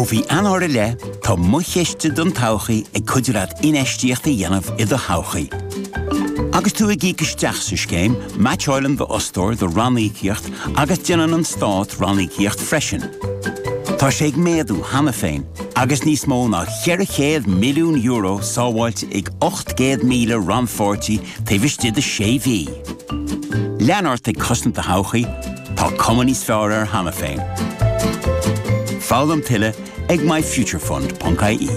Ó mhí Eanáir i leith, tá Mo Chiste don Todhchaí ag cuidiú leat infheistíocht a dhéanamh i do thodhchaí. Agus tú ag íoc isteach sa scéim, meaitseáileann d'fhostóir do ranníocaíocht agus déanann an Stát ranníocaíocht freisin. Tá sé ag méadú cheana féin agus níos mó ná €400 milliún sábháilte ag 800,000 rannpháirtí taobh istigh de sé mhí. Lean ort ag cosaint do thodhchaí, tá cuma níos fearr air cheana féin. Foghlaim tuilleadh ag myfuturefund.ie.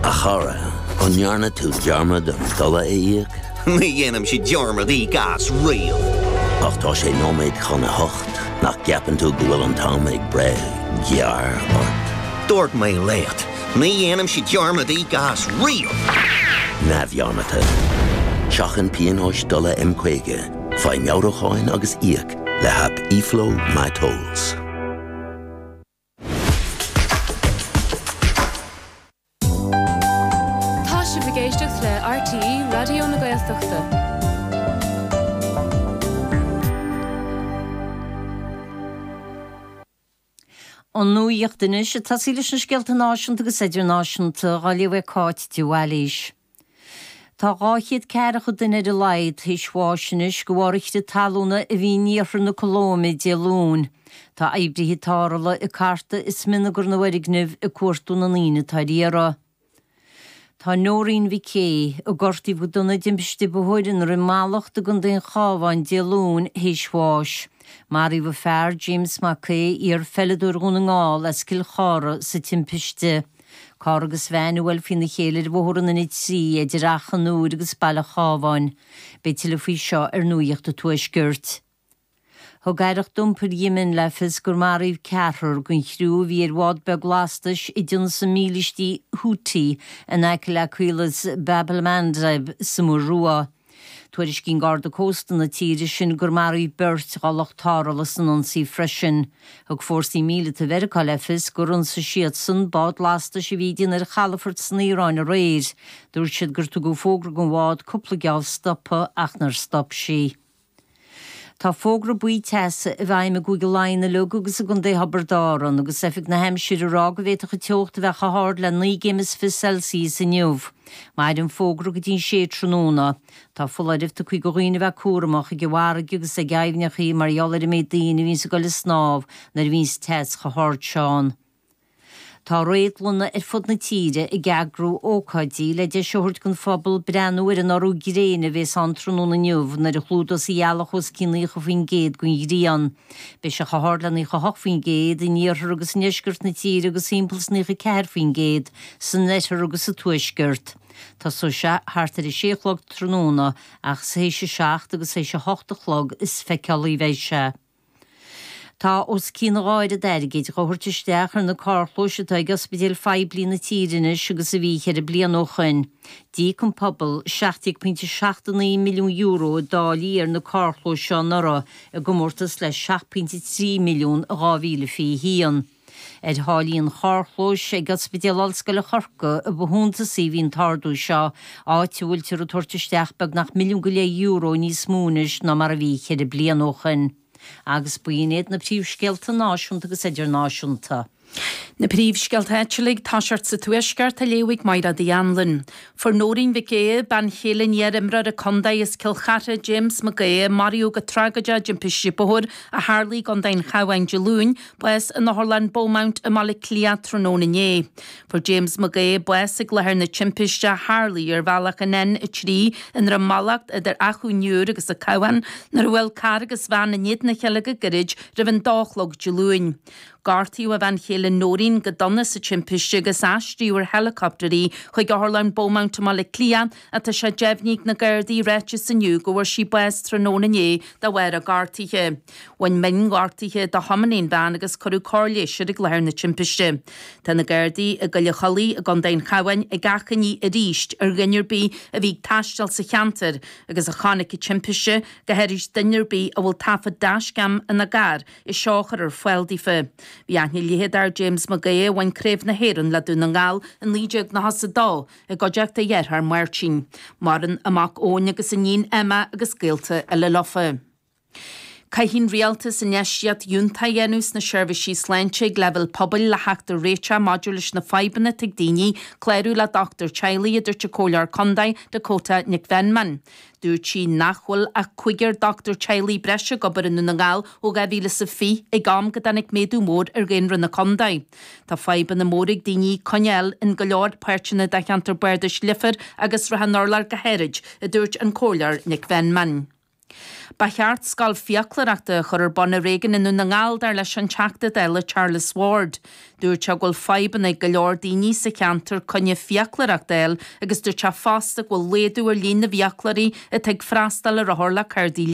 A chara, an ndearna tú dearmad an dola a íoc? Ní dhéanaimse dearmad íoc as riamh. Ach tá sé nóiméad chun a hocht, nach gceapann tú go bhfuil an t-am ag breith gearr ort? Dúirt mé leat, ní dhéanaimse dearmad íoc as riamh! Neamhdhearmadta. Seachain pionóis dola M50, faigh meabhrúcháin agus íoc le haip eFlow MyTolls. Tá sibh ag éisteacht le RTÉ Raidió na Gaeltachta. An nuacht anois, ag tosaí leis na scéalta náisiúnta agus idirnáisiúnta, á léamh ag Cáit de Bhailís. Tá 240 duine ar a laghad théis bháis anois de bharr an chrith talúna a bhí in iarthar na Colóime Dé Luain. Tá oibrithe tarrthála ag cartadh i smionagar na bhfoirgneamh ag cuartú na ndaoine atá ar iarraidh. Tá Noreen Mhic Aodha, a gortaíodh go dona i dtimpiste bóthair i nDroim Mallacht i gContae an Chabháin Dé Luain, théis bháis. Maraíodh a fear, James Mac Aodha, iar-pheileadóir Dhún na nGall as Cill Chartha, sa timpiste. Carr agus veain a bhuail faoina chéile ar bhóthar an N3 idir Achadh an Iúir agus Baile Chábháin. Beidh tuilleadh faoi seo ar Nuacht an Tuaiscirt. Thug Aireacht Iompair Yemen le fios gur maraíodh ceathrar den chriú a bhí ar bhád beag lastais a d'ionsaigh mílístí Houthi in aice le caolas Bab el-Mandeb sa Muir Rua. Tuairiscíonn Garda Cósta na tíre sin gur maraíodh beirt dá lucht tarrthála san ionsaí freisin. Thug fórsaí míleata Mheiriceá le fios gur ionsaigh siadsan bád lastais a bhí ag déanamh ar chalafort san Iaráin aréir. Dúirt siad gur tugadh fógra don bhád cúpla geábh stopadh ach nár stop sí. Tá fógra buí teasa i bhfeidhm i gCúige Laighean uilig agus i gContae Thiobraid Árann, agus Oifig na hAimsire ag rá go bhféadfadh an teocht a bheith chomh hard le 19 gcéim Celsius inniu. Mairfidh an fógra go dtí an sé tráthnóna. Tá foláireamh tugtha do dhaoine a bheith cúramach ag an bhfarraige agus ag aibhneacha mar gheall ar an méid daoine a bhíonns ag dul ag snámh nuair a bhíonns teas chomh hard seo ann. Tá réadlanna ar fud na tíre ag eagrú ócáidí le deis a thabhairt don phobal breathnú ar an urú gréine a bhéas ann tráthnóna inniu nuair a chlúdós an ghealach os cionn 90% den ghrian. Beidh sé chomh hard le 98% in iarthar agus i ndeisceart na tíre agus timpeall is 94% san oirthear agus sa tuaisceart. Tosóidh sé thart ar a sé a chlog tráthnóna ach is théis a seacht agus théis a hocht a chlog is feiceálaí a bheidh sé. Tá os cionn a dhá oiread airgid dhá thabhairt isteach ar na carrchlóis atá ag ospidéil phoiblí na tíre anois agus a bhí cheithre bliana ó shoin. D'íoc an pobal €17.79 milliún i dtáillí ar na carrchlóis seo anuraidh, i gcomórtas le 7.3 milliún i 2021. Ar tháillí an charrchlóis ag Ospidéal Ollscoile Chorcaí a ba shuntasaí a bhí an t-ardú seo, áit a bhfuiltear ag tabhairt isteach beagnach €1.5 milliún níos mó anois ná mar a bhí cheithre bliana ó shoin. Agus b'in iad na príomhscéalta náisiúnta agus idirnáisiúnta. Na príomhscéalta áitiúla ag toiseacht sa Tuaisceart á léamh ag Mairéad Uí Anluain. Fuair Nóirín Mhic Aodha, bean chéile an iar-imreora contae as Cill Chartha, James Mac Aodha, a maraíodh go tragóideach i dtimpiste bóthair a tharlaigh i gContae an Chabháin Dé Luain, bás in Otharlann Beaumont i mBaile Átha Cliath tráthnóna inné. Fuair James Mac Aodha bás ag láthair na timpiste a tharlaigh ar bhealach an N3 i nDroim Mallacht idir Achadh an Iúir agus an Cabhán nuair a bhuail carr agus veain in éadan a chéile go gairid roimh an dó a chlog Dé Luain. Gortaíodh a bhean chéile Nóirín go dona sa timpiste agus aistríodh ar helicopter í chuig Otharlann Beaumont i mBaile Átha Cliath ach tá sé deimhnithe ag na Gardaí i ráiteas inniu go bhfuair sí bás tráthnóna inné de bharr a gortuithe. Bhain mionghortuithe do thiománaí an veain agus cuireadh cóir leighis air ag láthair na timpiste. Tá na Gardaí i gCoill an Chollaigh i gContae an Chabháin ag achainí arís ar dhuine ar bith a bhí ag taisteal sa cheantar agus a chonaic an timpiste, go háirid duine ar bith a bhfuil taifead dashcam ina gcarr, é seo a chur ar fáil daofa. Bhí aithne leitheadach ar James McGaha a bhain Craobh na hÉireann le Dún na nGall i 1992 i gcuideachta a dhearthár Máirtín. Maireann a mac Eoin agus a iníon Emma agus gaolta eile leofa. Caithfidh an Rialtas infheistíocht fhiúntach a dhéanamh sna seirbhísí sláinte ag leibhéal pobail le theacht ar réiteach maidir leis na fadhbanna atá ag daoine clárú le dochtúir teaghlaigh, a dúirt an Comhairleoir Contae Dakota Nic Mheanman. Dúirt sí nach bhfuil ach cúigear dochtúir teaghlaigh breise ag obair i nDún na nGall ó 2020, ag am go dtáinig méadú mór ar dhaonra na contae. Tá fadhbanna móra ag daoine coinne a fháil in go leor páirteanna de cheantar bardais Leifear agus Srath an Urláir go háirid, a dúirt an Comhairleoir Nic Mheanman. Ba cheart scoil fiaclóireachta a chur ar bun ar éigean i nDún na nGall, dar leis an Teachta Dála Charles Ward. Dúirt sé go bhfuil fadhbanna ag go leor daoine sa cheantar coinne fiaclóireachta a fháil agus dúirt sé fosta go bhfuil laghdú ar líon na bhfiaclóirí atá ag freastal ar othair le cárdaí.